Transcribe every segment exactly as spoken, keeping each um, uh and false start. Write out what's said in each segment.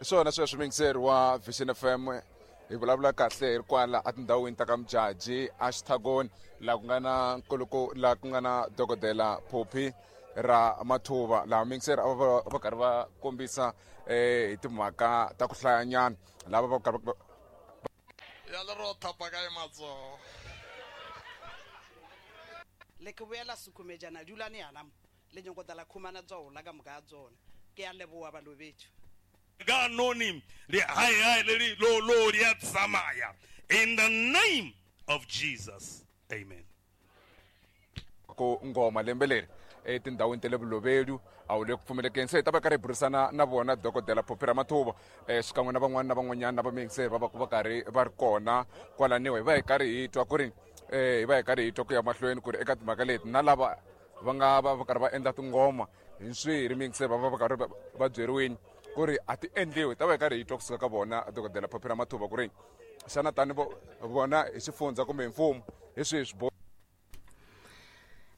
Hi swona sweswo, muyingiseri wa Vision F M, hi vulavula kahle hi ri kwala etindhawini ta ka Mujaji a Xithagoni, laha ku nga na nkuluko, laha ku nga na Dokodela Phophi ra Mathuva, laha muyingiseri a va va karhi va kombisa um hi timhaka ta ku hlayanyana lava va karhi Ya le ro thapa kae matsogo? Le ke boela sekhumejana dulane yana mo le nyako tla khumana tsola ka moka ya tsona. Ke a leboa balobetso. Ka noni le hai hai le li lo lo di a tsamaya, in the name of Jesus, amen. Ku ngoma lembe leri etindhawini ta le Vulovedu a wu le ku pfumelekeni, se hi ta va karhi hi burisana na vona Dokodela Phophi Ramathuva um xikan'we na van'wana na van'wanyana na vamiyingiseri va va ku va karhi va ri kona kwalaniwa. Hi va hi karhi hi twa ku ri um hi va hi karhi hi twa ku ya mahlweni ku ri eka timhaka leti na lava va nga va va karhi va endla tingoma hi swiri, miyingiseri, va va va karhi va byeriwini ku ri a ti endliwi. Hi ta va hi karhi hi twa kusuka ka vona Dokodela Phophi Ramathuva ku ri xana tani vona hi xifundza kumbe hi mfumo hi swihi swiboho.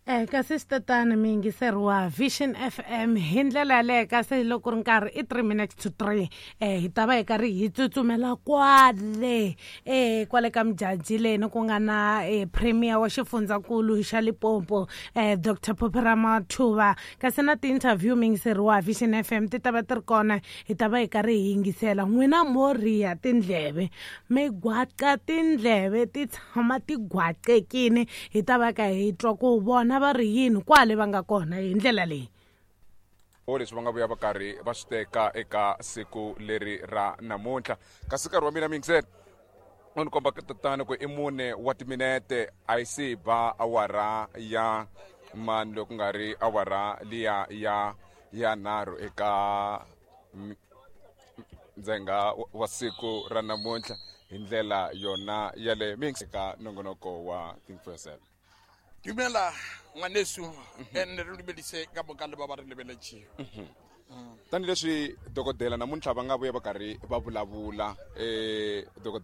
Eh kasi swi miyingiseri wa Vision F M, hi ndlela yaleyo, kasi loko ku ri nkarhi i three minutes to three, eh hi ta va hi karhi hi tsutsumela kwale eh kwale ka Mujaji leni ku nga na eh, premier wa xifundzankulu xa Limpopo, eh Doctor Phophi Ramathuva. Kasi na ti-interview, miyingiseri wa Vision F M, ti ta va ti ri kona. Hi ta va hi karhi hi yingisela n'wina, mo riya tindleve, mi gwaqa tindleve, ti tshama ti gwaqekini. Hi ta va ka hi twa ku vona va ri yini kwale va nga kona hi ndlela leyi. Leswi va nga vuya va karhi va swi teka eka siku leri ra namuntlha. Kasi nkarhi wa mina, miyingiseri, u ni komba tatana ku i mune wa timinete a yi si ba awara ya mani, loko ku nga ri awara liya ya ya nharhu eka ndzhenga wa siku ra namuntlha. Hi ndlela yona yaleyo mix eka nongonoko wa Think for Yourself. Dumela ngwaneso, and re dumedise ka moka le ba ba re lebeletšego. Tanihileswi dokodela namuntlha va nga vuya va karhi va vulavula, eh dokodela.